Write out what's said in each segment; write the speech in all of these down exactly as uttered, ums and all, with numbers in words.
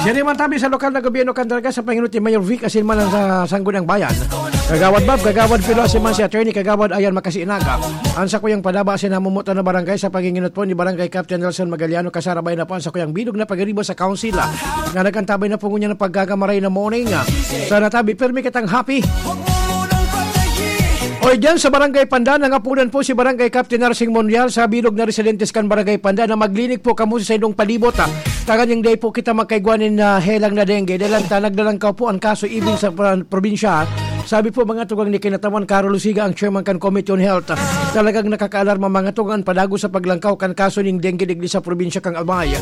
Diri man tabi sa lokal na gobyerno kan Dalaga sa panginot ni Mayor Vic asin man ang sa Sangguniang Bayan. Kagawad Bob, Kagawad Pilo asin man si Attorney Kagawad Ayan Makasiinaga. Ang sakuyang padaba sa namumutan na barangay sa panginginot po ni Barangay Captain Nelson Magaliano, kasarabay na po ang sakuyang bilog na pagiribo sa Council, ah, nga nagkantabay na po ngunyan ng pagkakamaray na morning, ah. Sana tabi, permi kitang happy. O dyan sa Barangay Pandan, nangapunan po si Barangay Captain Narsing Monreal sa bilog na residentes kan Barangay Pandan na maglinig po kamo sa saindong palibot, ah. Tanganing dai po kita magkaigwa nin, ah, helang na dengue. Dahil ang tanag na lang kaw po ang kaso even sa pra-, probinsya. Sabi po mga tugang ni Kinatawan Carol Lusiga, ang chairman kan Committee on Health. Talagang nakakaalarma mga tugang ang padago sa paglangkaw kan kaso ning dengue digdi sa probinsya kan Albay.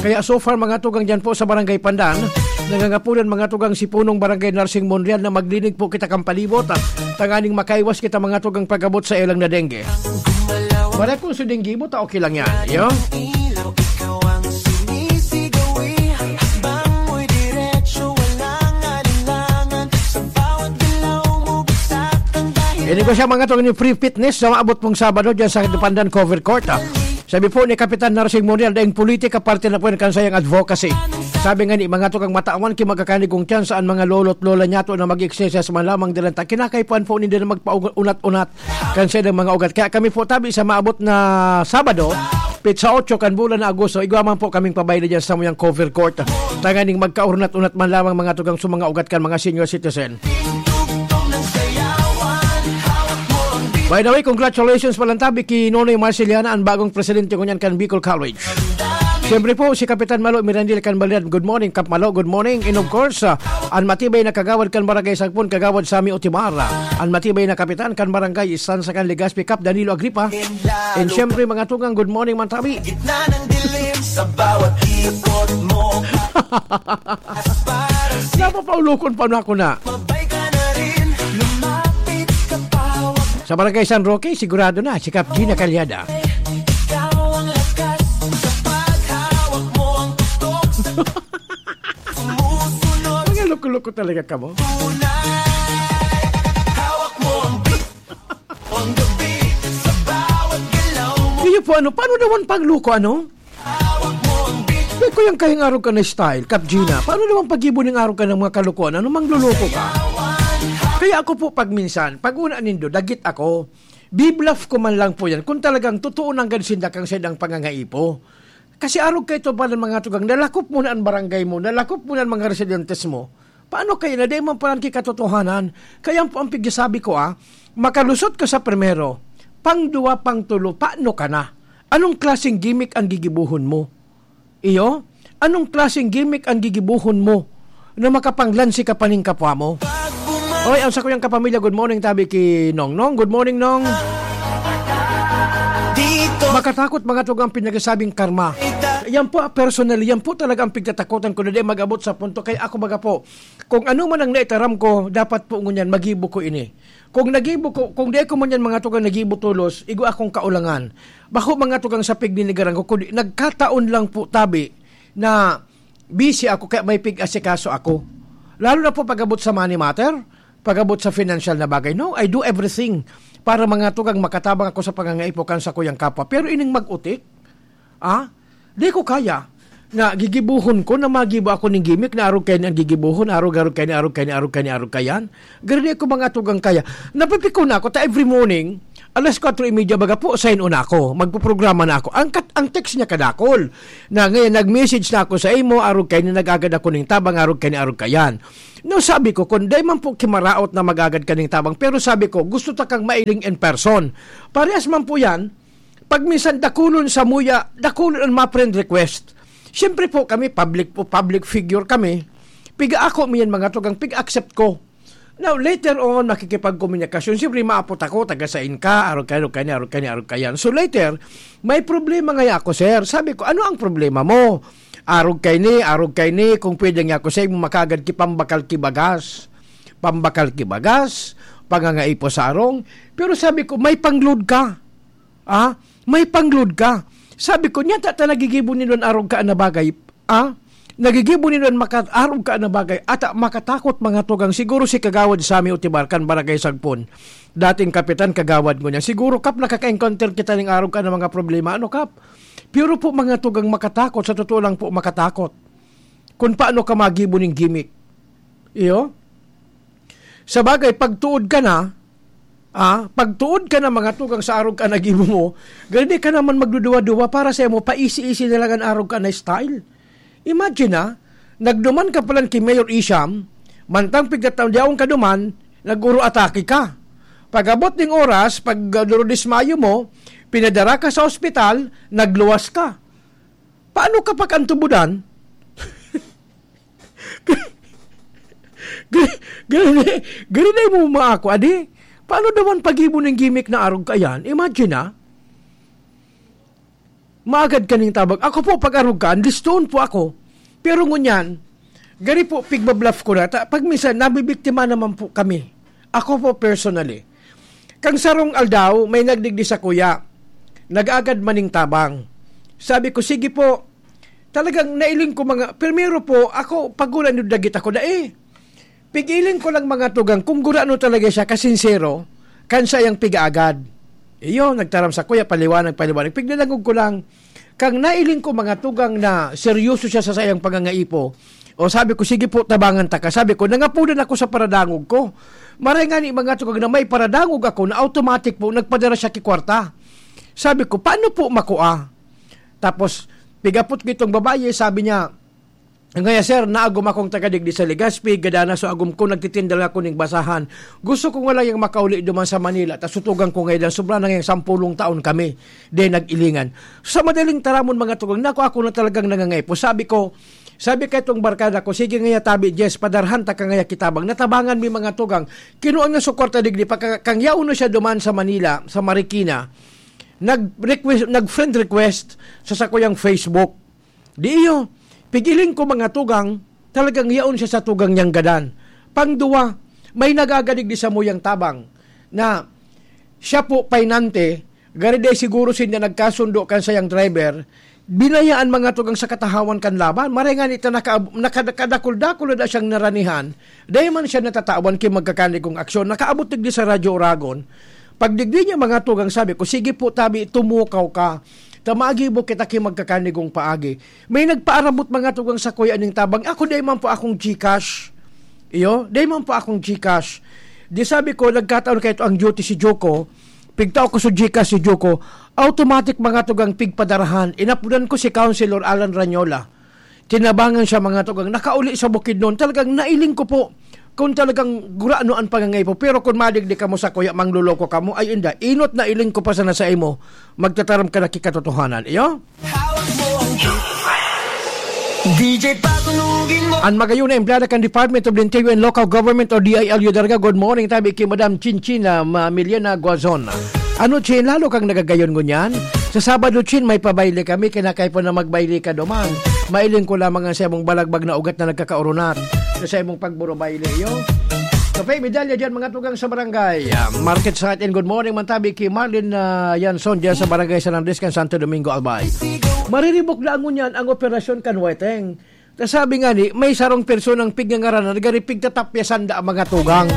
Kaya so far mga tugang dyan po sa Barangay Pandan, nangangapunan mga tugang si Punong Barangay Narsing Monreal na maglinig po kita kan palibot, ah, tanganing makaiwas kita mga tugang pag-abot sa ilang na dengue. Wala kung sa dengue mo, ta okay lang yan. Yo? Ilaw, ikaw ang sumisigaw, eh. Hakbang mo'y diretso, walang alinlangan. Sa bawat galaw mo, bagsak ang dahilan. Ini ko siya, mga tugang ni Free Fitness, sa maabot pong Sabado dyan sa Pandan Cover Court, ah. Sabi po ni Kapitan Narsing Monreal, daing politika, parte na po yan kan sayang advocacy. Sabi nga ni mga tugang matawan, ki magkakanig kong tiyan saan mga lolo't lola niya to na mag-exercise man lamang dilan ta. Kinakaipuan po ninda na magpaunat-unat kan saindang mga ugat. Kaya kami po tabi sa maabot na Sabado, pitsa otso kan bulan na Agosto, igwa man po kaming pabaylo dyan sa muyang cover court. Tanganing magkaunat-unat man lamang mga tugang sa mga ugat kan mga senior citizen. By the way, congratulations palantabi ki Nonoy Marceliana, ang bagong presidente ngunyan kan Bicol College. Siyempre po, si Kapitan Malo Mirandil kan Balian. Good morning, Kap Malo. Good morning. And of course, ah, an matibay na kagawad kan Barangay Sagpon, Kagawad Sammy Otimar. An matibay na kapitan kan Barangay Estansa kan Legazpi, Kap Danilo Agripa. And siyempre, mga tugang, good morning, Mantabi. Gitna ng dilim sa bawat ipot mo. Napapaulokon pa na ako na. Mabay ka na rin, lumapit ka pa, wag. Sa Barangay San Roque, sigurado na, si Kap Gina Calyada. Ikaw ang lakas sa paghawak mo, ang tuktok sa sumusunod. Mga loko-loko talaga ka mo. Tunay, hawak mo ang beat. Ang gabi sa bawat galaw mo. Iyo po, ano, paano naman pagluko, ano? Hawak mo ang beat. Di ko yung kayang araw ka na style, Kap Gina. Paano naman pag-ibo ng araw ka ng mga kalukuhan? Ano, mangluluko ka? Kaya ako po pag minsan, pag una nindo, dagit ako. Bibluff ko man lang po yan. Kung talagang totoo nang gansinda kang saindang pangangaipo. Kasi arog kaito pa ng mga tugang, nalakop mo na ang barangay mo, nalakop mo na ang mga residentes mo. Paano kaya na di man paran ki katotohanan? Kaya po ang pigsasabi ko, ah, makalusot ka sa primero, pang duwa, pang tulo, paano ka na? Anong klaseng gimmick ang gigibuhon mo? Iyo? Anong klaseng gimmick ang gigibuhon mo na makapanglansi ka pa ning kapwa mo? Oy, ang sakuyang kapamilya, good morning, tabi ki Nong. Nong, good morning, Nong. Dito. Makatakot mga tugang pinagsasabing karma. Yan po, ah, personally, yan po talaga ang pigtatakutan ko na di mag-abot sa punto. Kaya ako baga po, kung ano man ang naitaram ko, dapat po ngunyan, magibo ko ini. Kung nagibo ko, kung di ko man yan mga tugang nagibo tolos, igo akong kaulangan. Bako mga tugang sa pigninigaran ko, kundi nagkataon lang po tabi na busy ako kaya may pig-asikaso ako. Lalo na po pag-abot sa money matter, pag-abot sa financial na bagay. No, I do everything para mga tugang makatabang ako sa pangangaipo kan sakuyang kapwa. Pero ining mag-utik, ah, di ko kaya. Na gigibuhon ko na magibo ako ning gimmick na arog kaini ang gigibuhon, arog, arog kaini, arog kaini, arog kaini, arog kayan. Garo di ko mga tugang kaya. Napipikon na ako ta every morning, alas kwatro y media baga po, sign on ako. Magpoprograma na ako. Ang kat-, ang text niya kadakol. Na ngayon, nag-message na ako sa imo, arog kaini nag-agad ako ning tabang, arog kaini, arog kayan. No, sabi ko, kung di man po kimaraot na mag-agad ka ning tabang, pero sabi ko, gusto ta kang mailing in person. Parehas man po yan, pag minsan dakulon sa muya, dakulon ang mga friend request. Siyempre po kami, public po, public figure kami. Piga ako miyan mga tugang, pig-accept ko. Now, later on, makikipagkomunikasyon. Siyempre, maapot ako, taga sain ka, arog kaini, arog kaini, arog kaini, arog kayan. So later, may problema ngaya ako, sir. Sabi ko, ano ang problema mo? Arog kaini, arog kaini, kung pwede nga ako sa imo, makagad ki pambakal ki bagas. Pambakal ki bagas, pangangaipo sa arong. Pero sabi ko, may pangload ka. Ah, may pangload ka. Sabi ko, niya ta, ta nagigibo nindon arog ka na bagay. Ah, nagigibo nindon maka-, arog ka na bagay. Ata makatakot mga tugang. Siguro si Kagawad Sammy Otibar kan Barangay Sagpon. Dating kapitan, kagawad ko niya. Siguro, Kap, nakaka-encounter kita ning arog ka ng mga problema. Ano, Kap? Pero po, mga tugang makatakot. Sa totoo lang po, makatakot. kung paano ka magibo ning gimmick. Iyo? Sa bagay, pagtuod ka na, ah, pagtuod ka na mga tugang sa arog ka na gibo mo, gani ka naman magduduwa-duwa para sa imo, paisi-isi na lang an arog ka na style. Imagine, ah, nagduman ka palan ki Mayor Isham, mantang pigtatao, yaon ka duman, nag-uro atake ka. Pag-abot ning oras, pag, ah, durodismayo mo, pinadara ka sa ospital, nagluwas ka. Paano ka pag-antubudan? Gani, gani, gani na mo maako, adi? Paano daw an paggibo ning gimmick na arog ka yan? Imagine, ah. Maagad kaning tabang. Ako po, pag arog ka, andistoon po ako. Pero ngunyan, gani po, pigbabluff ko na. Ta-, pag minsan, nabibiktima naman po kami. Ako po, personally. Kang sarong aldaw, may nagdigdi sa kuya. Nag-agad maning tabang. Sabi ko, "Sige po." Talagang nailing ko mga, primero po, ako, pag ulan yung dagit ako, dai. Pigiling ko lang mga tugang, kung gurano talaga siya, kasinsero, kan siya yung pigaagad. Iyo, nagtaram sa kuya, paliwanag, paliwanag. Pigdadangog ko lang, kang nailing ko mga tugang na seryoso siya sa sayang pangangaipo. O sabi ko, "Sige po, tabangan ta ka." Sabi ko, nangapudan ako sa paradangog ko. Maray nga ni mga tugang na may paradangog ako na automatic po, nagpadara siya ki kwarta. Sabi ko, "Paano po makua?" Tapos, pigapot ko itong babae, sabi niya, "Ngaya, sir, naagom akong taga digdi sa Legazpi, gadana so agom ko, nagtitinda lang ako ning basahan. Gusto ko nga lang yung makauli duman sa Manila, ta sutugan ko ngayon, sobra na ngayang sampulong taon kami, di nag-ilingan." Sa madaling taramon, mga tugang, nako, ako na talagang nangangaipo. Sabi ko, sabi ka itong barkada ko, "Sige ngaya, tabi, Jess, padarhan ta ka ngaya ki tabang." Natabangan mi, mga tugang. Kinuha nga so kwarta digdi, pagka-, kang yaon na siya duman sa Manila, sa Marikina, nag-request, nag-friend request sa sakuyang Facebook. Di iyo, pigiling ko mga tugang, talagang yaon siya sa tugang niyang gadan. Pangduwa, may nagagadig di samuyang tabang na siya po painante, gari day siguro sinda nagkasundo kan sayang driver, binayaan mga tugang sa katahawan kan laban. Maray nga nita naka-, naka-, nakadakul-dakul na da siyang naranihan, dai man siya natatawan ki magkakanigong aksyon. Nakaabot digdi sa Radyo Oragon. Pag digdi niya mga tugang, sabi ko, "Sige po, tabi, tumukaw ka. Ta magibo kita ki magkakanigong paagi." May nagpaarabot mga tugang sa kuya ning tabang. Ako, dai man po akong GCash. Iyo, dai man po akong GCash. Di sabi ko, nagkataon kayo ang duty si Joko. Pigtao ko sa GCash si Joko. Automatic mga tugang pigpadarahan. Inapunan ko si Councilor Alan Ranyola. Tinabangan siya mga tugang. Nakauli sa Bukidnon. Talagang nailing ko po kung talagang gurano an pangangay po. Pero kung madigdi kamo sa kuya, mangloloko kamo, ay inda, inot na iling ko pa sana sa imo, magtataram ka na kikatotohanan. Iyo? D J Patunugin mo. Ang magayon na empleyado kan Department of the Interior and Local Government o D I L U Darga, good morning, tabi ki Madam Chinchina Ma-, Miliana Guazon. Ano, Chin, lalo kang nagagayon ngunyan? Sa Sabado, Chin, may pabayle kami, kinakay po na magbayle ka duman. Mailing ko lamang ang sa imong balagbag na ugat na nagkakaurunat sa imong pagburubayle, iyo. Kape, medalya dyan, mga tugang sa barangay. Ah, Market Site, and good morning, mantabi ki Marlin, ah, Yanson, dyan sa barangay San Andres, kan Santo Domingo, Albay. Mariribok na ngunyan ang operasyon kan Weteng. Ta sabi nga ni, may sarong personang pigngangaran na nagari pigtatapyasan da ang mga tugang.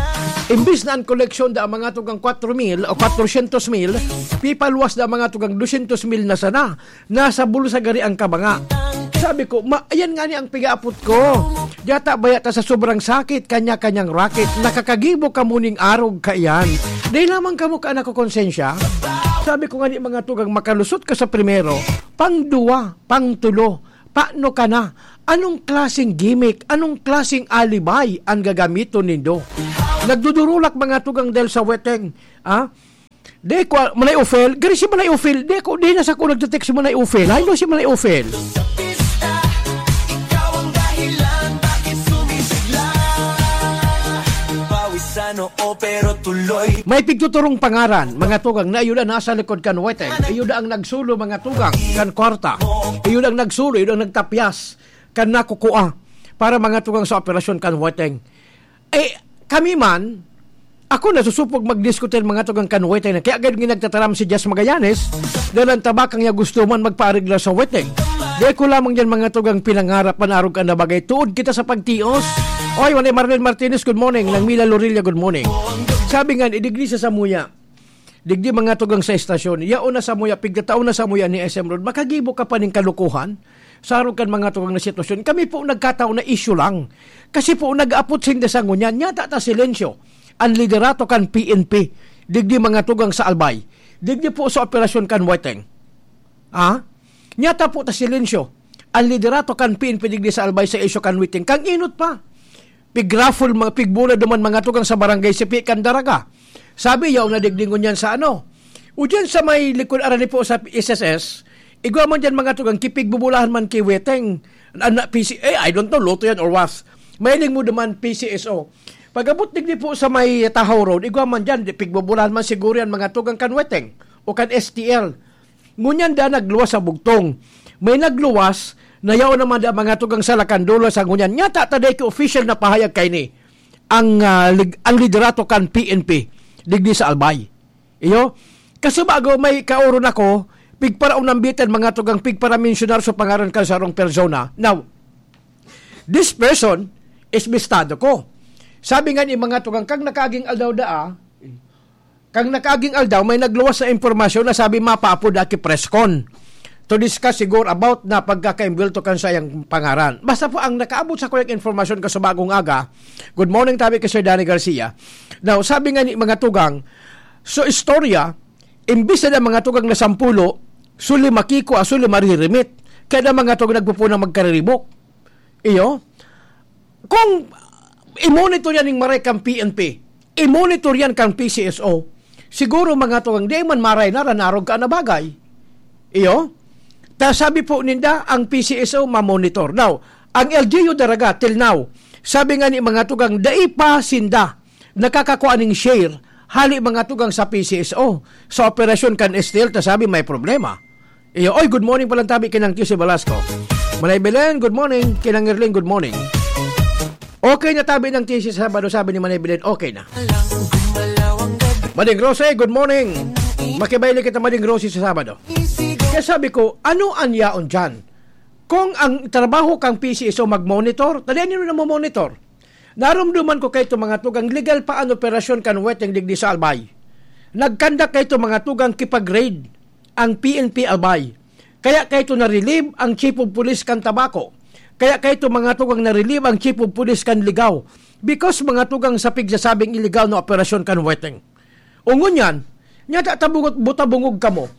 Imbis na ang koleksyon da ang mga tugang kwatro mil o kwatrosyentos mil, pipaluwas da ang mga tugang dusyentos mil na sana. Nasa bulsa gari ang kabanga. Sabi ko, "Ma, ayan nga ni ang pigaapot ko. Yata baya ta sa sobrang sakit, kanya-kanyang racket, nakakagibo ka muning arog kaiyan. Dahil lamang kamo ka nakukonsensya?" Sabi ko nga ni mga tugang, makalusot ka sa primero, pang duwa, pang tulo, paano ka na? Anong klaseng gimmick? Anong klaseng alibay ang gagamiton nindo? Nagdudurulak mga tugang dahil sa weteng, ah? Di ko, Manay Ofel, gari si Manay Ofel, di ko, di na sa ko nagte-text si Manay Ofel. Ay, no, si Manay Ofel. Sa pista, ikaw ang dahilan bakit sumisigla. Pawisan, oo, pero tuloy. May pigtuturong pangaran, mga tugang, na iyo na nasa likod kan weteng. Iyo na ang nagsulo, mga tugang, kan kwarta. Iyo na ang nagsulo, iyo na ang nagtapyas, kan nakukua. Para mga tugang sa operasyon kan weteng. Eh, kami man, ako nasusupog magdiskutir mga tugang kan weteng na. Kaya agad nga nagtataram si Jess Magallanes, dalan tabakang niya gusto man magpaarigla sa weteng. Di ko lamang yan mga tugang pinangarap, panarog ka na bagay. Tuod kita sa pagtios. Oy, Juan Marlon Martinez, good morning. Nang Mila Lorilla, good morning. Sabi nga, idigli sa samuya. Digdi mga tugang sa estasyon. Yaon na samuya, pigtatao na samuya ni S M Road. Makagibo ka pa ning kalukuhan? Sa arog kan mga tugang na sitwasyon, kami po nagkataon na issue lang. Kasi po, nag-apot sinda sa ngunyan. Nyata ta silensyo. Ang liderato kan P N P, digdi mga tugang sa Albay. Digdi po sa operasyon kan Weteng. Ha? Nyata po ta silensyo. Ang liderato kan P N P digdi sa Albay sa isyu kan Weteng. Kang inot pa. Pigraffle, mga pigbula duman mga tugang sa barangay Sipi kan Daraga. Sabi, yaw na digdi ngunyan sa ano. O dyan sa may likod arani po sa S S S, igwa man dyan mga tugang, kipigbubulahan man ki Weteng. Ano, P C, eh, I don't know, loto yan or was. Mailing mo duman, P C S O. Pag-abot digdi po sa may Tahaw Road, igwa man dyan, di, pigbubulahan man siguro yan mga tugang kan Weteng o kan S T L. Ngunyan da nagluwas sa bugtong. May nagluwas, na yaon naman da mga tugang sa Lacandola sa ngunyan. Nyata ta dai ki official na pahayag kaini ang, ah, lig-, ang liderato kan P N P digdi sa Albay. Iyo, kasi bago may kaoron ako, pigparaunambitan mga tugang pigparamensionar sa pangaran kan sarong persona. Now, this person is bistado ko. Sabi nga ni mga tugang, kang nakaaging aldaw daa, kang nakaaging aldaw, may nagluwas na impormasyon na sabi mapaapod aki press con to discuss siguro about na pagkakaimbwelto kan sayang pangaran. Basta po ang nakaabot sa kuyang informasyon ka sa bagong aga, good morning tabi kay Sir Danny Garcia. Now, sabi nga ni mga tugang, so istorya, imbis na mga tugang na sampulo, suli makiko, suli maririmit. Kaya na mga tugang nagpupunang magkariribok. Iyo, kung i-monitor yan ng maray kang P N P, i-monitor yan kang P C S O, siguro mga tugang, di man maray na ranarog ka na bagay. Iyo, ta sabi po ninda, ang P C S O mamonitor. Now, ang L G U Daraga, till now, sabi nga ni mga tugang, dai pa sinda nakakakuha ning share, hali mga tugang sa P C S O, sa operasyon kan S T L, ta sabi may problema. Iyo, oy, good morning palang tabi kinang T C Velasco. Manay Belen, good morning. Kinang Erling, good morning. Okay na tabi ng T C sa Sabado, sabi ni Manay Belen, okay na. Mading Rose, good morning. Makibaili kita, Mading Rose, sa Sabado. Kaya sabi ko, ano an yaon dyan? Kung ang trabaho kang P C S O mag-monitor, tadi ano na mo monitor? Narumduman ko kaito mga tugang legal pa an operasyon kan Weteng digdi sa Albay. Nagkandak kaito mga tugang kipag-raid ang P N P Albay. Kaya kaito na-relieve ang Chief of Police kan Tabaco. Kaya kaito mga tugang na-relieve ang Chief of Police kan Ligao. Because mga tugang sa pigsasabing iligaw na operasyon kan Weteng. O ngunyan, nyata ta bungot-, buta-bungog kamo.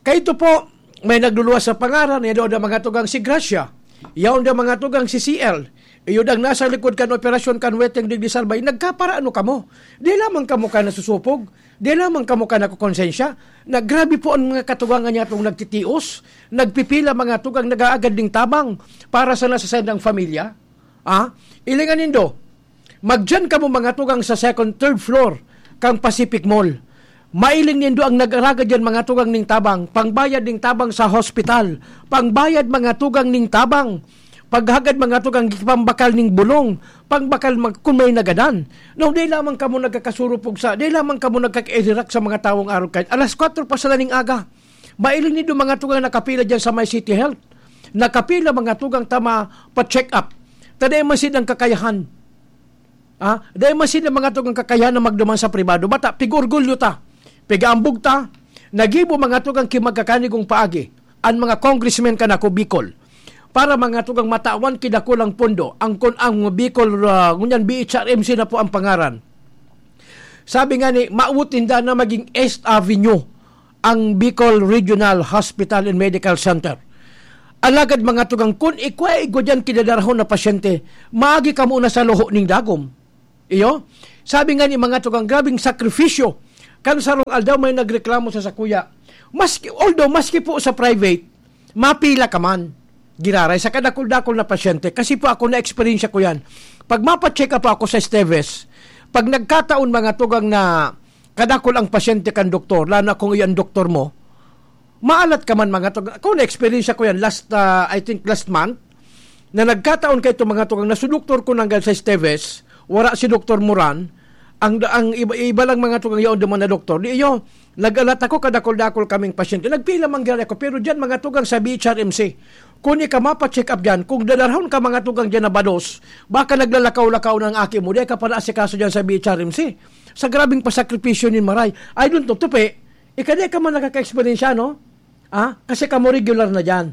Kaito po, may nagluluwas sa pangaran, yaon da mga tugang si Gracia, yaon da mga tugang si C L, iyo dang nasa likod kan operasyon kan Weteng digdi sa Albay, nagkaparaano kamo? Di lamang kamo ka nasusupog? Di lamang kamo ka nakukonsensya? Na grabe po ang mga katugangan niya itong nagtitios, nagpipila mga tugang nag-aagad ning tabang para sa nasa sendang pamilya? Ah? Ilingan nindo, magdiyan kamo mga tugang sa second, third floor kan Pacific Mall. Mailing nindo ang nag-aragad diyan mga tugang ning tabang, pangbayad ning tabang sa hospital, pangbayad mga tugang ning tabang, paghagad mga tugang pambakal ning bulong, pangbakal mag-, kung may nagadan. No, di lamang kamo nagkakasurupog sa, di lamang kamo nagkakairirak sa mga tawong arog kayo. Alas kwatro pa sa daning aga. Mailing nindo mga tugang nakapila diyan sa may City Health. Nakapila mga tugang tama pa-check up. Tadi man silang kakayahan. Ah, dai man sila mga tugang kakayahan na magduman sa pribado. Bata, pig-orgulyo ta, pig-aambog ta, nagibo mga tugang ki magkakanigong paagi, ang mga congressmen kan ako Bicol, para mga tugang matawan ki dakulang pondo, ang kun ang Bicol, ah, ngunyan B H R M C na po ang pangaran. Sabi nga ni, mawot ninda na maging East Avenue ang Bicol Regional Hospital and Medical Center. Alagad mga tugang, kun ikwa igwa diyan kidadarahon na pasyente, maagi kamo na sa luho ning dagom. Iyo? Sabi nga ni mga tugang, grabing sakripisyo. Kan sarong aldaw may nagreklamo sa sakuya. Maski, although, maski po sa private, mapila ka man. Giraray sa kadakul-dakul na pasyente. Kasi po ako, na-experience ko yan. Pag mapa-check up ako sa Esteves, pag nagkataon mga tugang na kadakul ang pasyente kan doktor, lalo na kung iyan doktor mo, maalat ka man mga tugang. Ako, na-experience ko yan last, ah, I think last month, na nagkataon kaito mga tugang na su doktor ko nanggal sa Esteves, wara si Doktor Moran, ang, ang iba, iba lang mga tugang yaon duman na doktor. Di iyo, nag-alat ako, kadakul-dakul kaming pasyente. Nagpila man gani ako, pero diyan mga tugang sa B H R M C. Kun ika mapa-check up diyan, kung dadarahon ka mga tugang diyan na bados, baka naglalakaw-lakaw ng aki mo, di ka pala asikaso diyan sa B H R M C. Sa grabing pasakripisyo nin maray. I don't know, tupi, ika di ka man nakaka-eksperyensya, no? Ah, kasi kamo regular na diyan.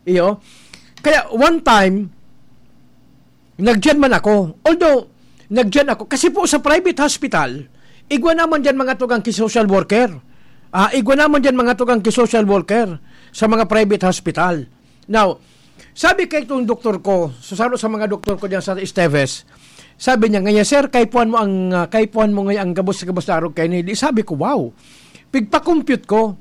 Iyo. Kaya one time, nagdiyan man ako. Although, nagdiyan ako. Kasi po sa private hospital, igwa naman diyan mga tugang ki social worker. Ah, igwa naman diyan mga tugang ki social worker sa mga private hospital. Now, sabi kay itong doktor ko, sa saro sa mga doktor ko diyan sa Esteves, sabi niya, "Ngayon, sir, kaipuhan mo ang, ah, kaipuhan mo ngayon ang gabos-gabos na arog kaini." Di sabi ko, "Wow." Pigpa-compute ko,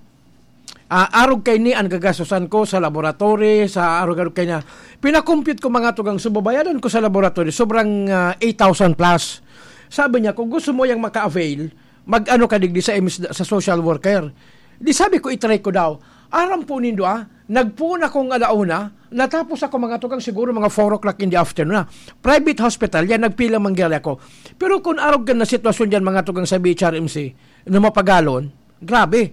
ah, arog kaini an gagastusan ko sa laboratory, sa arog-arog kaini. Pina-compute ko mga tugang, so babayadan ko sa laboratory, sobrang, ah, eight thousand plus. Sabi niya, "Kung gusto mo yang maka-avail, mag-ano ka digdi sa M S, sa social worker." Di sabi ko, "I-try ko daw." Aram po nindo, ah, nagpoon akong ala una, natapos ako mga tugang siguro mga four o'clock in the afternoon na. Private hospital yan, nagpila man gari ako. Pero kung arog ka na sitwasyon dyan mga tugang sa B H R M C, na mapagalon, grabe.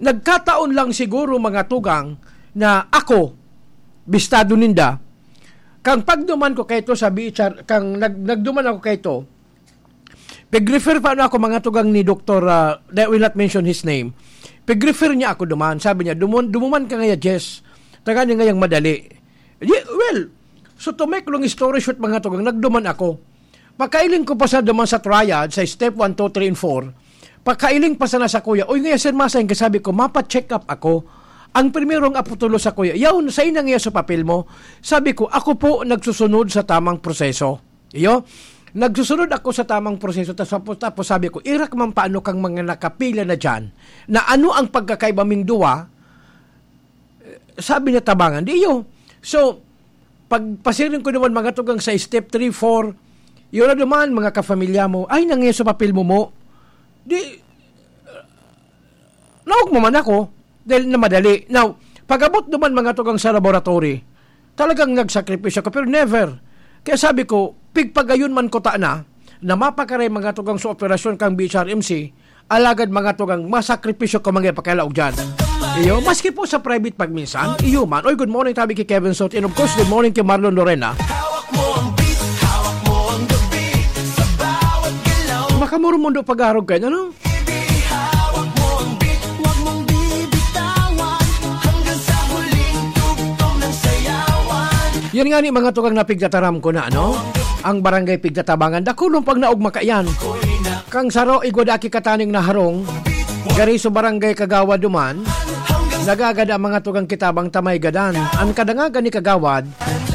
Nagkataon lang siguro mga tugang na ako, bistado ninda, kang pagduman ko kayto sa B H R, kang nag-, nagduman ako kayto, pag-refer pa ano ako mga tugang ni Doktor, ah, I will not mention his name. Pag-refer niya ako duman, sabi niya, "Dumun-, dumuman ka ngaya, Jess. Tagani ngayang madali." Di, well, so to make long story short mga tugang, nagduman ako. Pakailing ko pa sa duman sa triad, sa step one, two, three, and four. Pakailing pa sana sa kuya, "Uy, ngaya, sir, masayang ka," sabi ko, "Mapa-check up ako." Ang primerong aputulo sa kuya, "Yaon, sa ina ngaya sa papel mo?" Sabi ko, "Ako po nagsusunod sa tamang proseso." Iyo, nagsusunod ako sa tamang proseso, tas tapos, tapos sabi ko, "Irak man paano kang mga nakapila na dyan, na ano ang pagkakaiba ming duwa?" Sabi niya, "Tabangan." Di iyo. So, pag pasiring ko naman mga tugang sa step three, four, yun na naman, mga kafamilya mo, "Ay, nangyay sa papel mo mo." Di, naog mo man ako, dahil na madali. Now, pag-abot naman mga tugang sa laboratory, talagang nagsakripisyo ko, pero never. Kaya sabi ko, pigpagayon man ko ta na, na mapakaray mga tugang sa operasyon kang B H R M C, alagad mga tugang, masakripisyo ko mga ipakailaog dyan. Iyo, maski po sa private pagminsan, iyo man. Oy, good morning, tabi kay Kevin Sot. And of course, good morning kay Marlon Lorena. Makamurumundo pag-arog kayo, ano? Yan nga ni mga tugang na pigtataram ko na, ano? Ang barangay pigtatabangan, dakulong pag naog makayan. Kang saro, igwa da aki kataning naharong, gari so barangay kagawad duman, nagagada ang mga tugang kitabang tamay gadan. Ang kadangagan ni kagawad,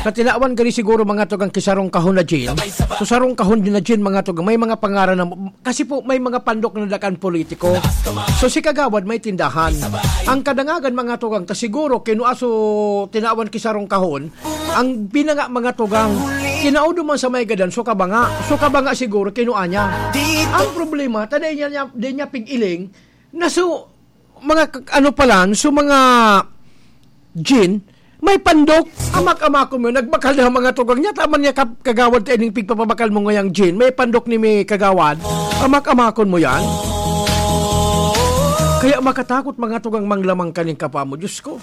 sa tinawan gari siguro mga tugang kisarong kahon na gin, so sarong kahon din na gin mga tugang, may mga pangaran na, kasi po may mga pandok na dakan politiko. So si kagawad may tindahan. Ang kadangagan mga tugang, ta siguro kinua so tinawan kisarong kahon, ang binanga mga tugang, kinao duman sa may gadan, so kabanga. So kabanga siguro, kinua niya. Ang problema, ta dai niya, niya, dai niya pig-iling, na so, mga k-, ano pa lang, so mga gin, may pandok, amak-amakon mo, nagbakal na ang mga tugang niya, tama niya kap-, kagawad ta ining pigpapabakal mo ngayang gin, may pandok ni may kagawad, amak-amakon mo yan. Kaya makatakot mga tugang manglamang kaning kapwa mo, Diyos ko.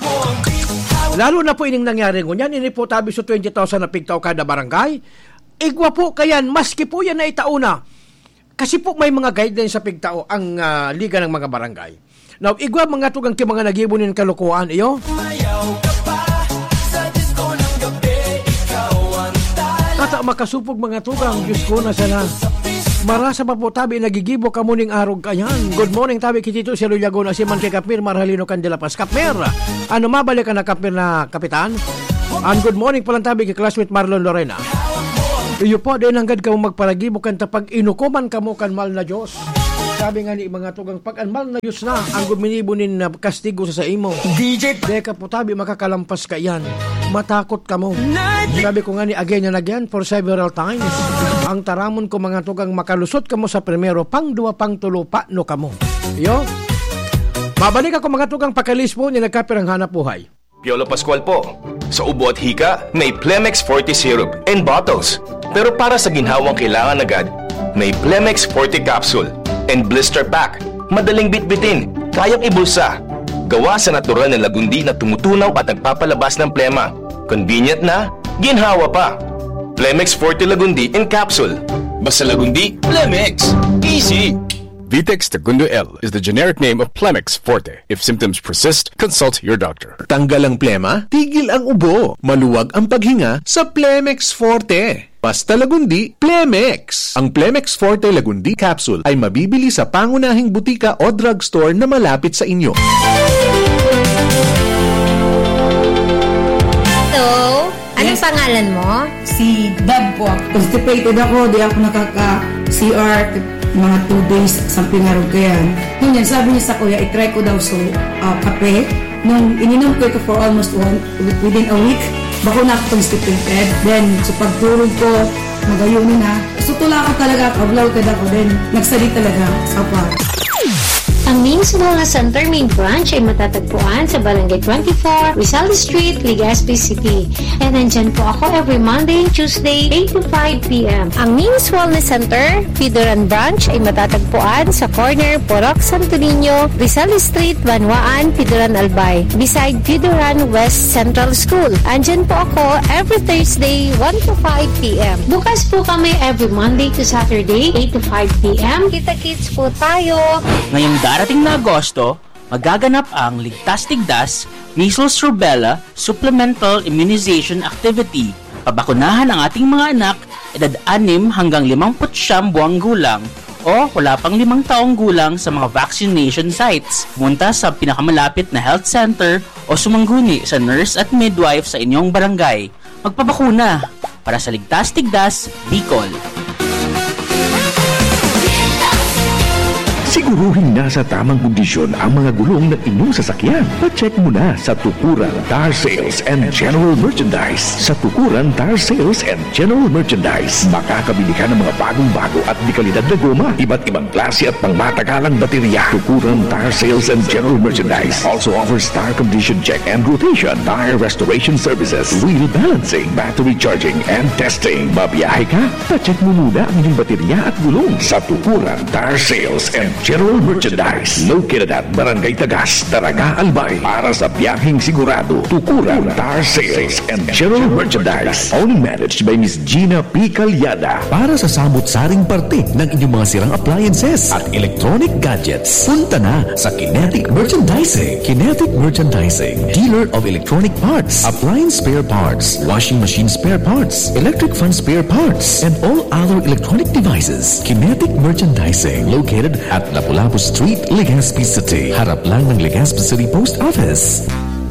Lalo na po ining nangyari ngunyan, ini po tabi sa twenty thousand na pigtao kada barangay. Igwa po kayan, maski po yan na itao na. Kasi po may mga guidelines sa pigtao ang, ah, Liga ng mga Barangay. Now, igwa mga tugang ki mga nagibo nin kalokohan, iyo? Mayaw ka pa sa disco ng gabi, ikaw ang tala. Ata makasupog mga tugang, Diyos ko, na sana. Marasa pa po tabi, nagigibo kamo ning arog kayan. Good morning, tabi ki Tito Silo Laguna, si man kay Kapmir Marhalino Candela Paz. Kapmir, ano, mabalik ka na, Kapmir, na kapitan? And good morning palang tabi ki classmate Marlon Lorena. Iyo po, di nanggad kamo magparagibo kan ta pag-inukoman kamo kan mahal na Diyos. Sabi nga ni mga tugang, pag an mahal na Diyos na ang guminibo nin, ah, kastigo sa saimo. D J pa- Deka po tabi, makakalampas ka iyan. Matakot kamo. Sabi ko nga ni again and again for several times. Ang taramon ko mga tugang, makalusot kamo sa primero, pang duwa, pang tulo, pano kamo. Iyo. Mabalik ako mga tugang, pakalisbo ni nagkapirang hanap buhay. Piolo Pascual po. Sa ubo at hika, may Plemex Forte Syrup and bottles. Pero para sa ginhawang kailangan agad, may Plemex Forte Capsule and Blister Pack. Madaling bitbitin, kayang ibulsa. Gawa sa natural na lagundi na tumutunaw at nagpapalabas ng plema. Convenient na, ginhawa pa. Plemex Forte Lagundi in Capsule. Basta Lagundi, Plemex. Easy! Vitex Segundo L is the generic name of Plemex Forte. If symptoms persist, consult your doctor. Tanggal ang plema, tigil ang ubo, maluwag ang paghinga sa Plemex Forte. Basta Lagundi, Plemex! Ang Plemex Forte Lagundi Capsule ay mabibili sa pangunahing butika o drugstore na malapit sa inyo. Hello! Anong Yes. pangalan mo? Si Dab po. Constipated ako, di ako nakaka-C R, mga two days, something around kaya. Ngunyan, sabi niya sa kuya, i-try ko daw so, ah, kape. Nung ininom ko ito for almost one, within a week, bako na ako constipated. Then, sa pagtulog ko, magayuno na. Sutula ko talaga, kablaw ka ako. Then, nagsali talaga sa pa. Ang Ming's Wellness Center main branch ay matatagpuan sa Barangay twenty-four, Rizal Street, Legazpi City. And nandyan po ako every Monday and Tuesday, eight to five p.m. Ang Ming's Wellness Center, Pidoran Branch ay matatagpuan sa corner Purok Santo Niño, Rizal Street, Banwaan, Pidoran Albay, beside Pidoran West Central School. Andyan po ako every Thursday, one to five p.m. Bukas po kami every Monday to Saturday, eight to five p.m. Kita-kits po tayo! Ngayong darating na Agosto, magaganap ang Ligtas Tigdas Measles Rubella Supplemental Immunization Activity. Pabakunahan ang ating mga anak, edad anim hanggang limampu't siyam buwang gulang o wala pang limang taong gulang sa mga vaccination sites. Pumunta sa pinakamalapit na health center o sumangguni sa nurse at midwife sa inyong barangay. Magpabakuna para sa Ligtas Tigdas, Bicol. Siguruhing nasa tamang kondisyon ang mga gulong ng inyong sasakyan. Pa-check muna sa Tukuran Tire Sales and General Merchandise. Sa Tukuran Tire Sales and General Merchandise, makakabili ka ng mga bagong-bago at dekalidad na goma, iba't ibang klase at pangmatagalang baterya. Tukuran Tire Sales and General Merchandise also offers tire condition check and rotation, tire restoration services, wheel balancing, battery charging, and testing. Mabiyahe ka? Pa-check mo muna ang inyong baterya at gulong sa Tukuran Tire Sales and General Merchandise. Located at Barangay Tagas, Daraga, Albay. Para sa biyaheng sigurado, Tukuran Tire Sales and General Merchandise. Owned and managed by Miss Gina P. Calyada. Para sa samot-saring parte ng inyong mga sirang appliances at electronic gadgets, punta na sa Kinetic Merchandising. Kinetic Merchandising, dealer of electronic parts, appliance spare parts, washing machine spare parts, electric fan spare parts, and all other electronic devices. Kinetic Merchandising, located at Lapu-Lapu Street, Legazpi City. Harap lang ng Legazpi City Post Office.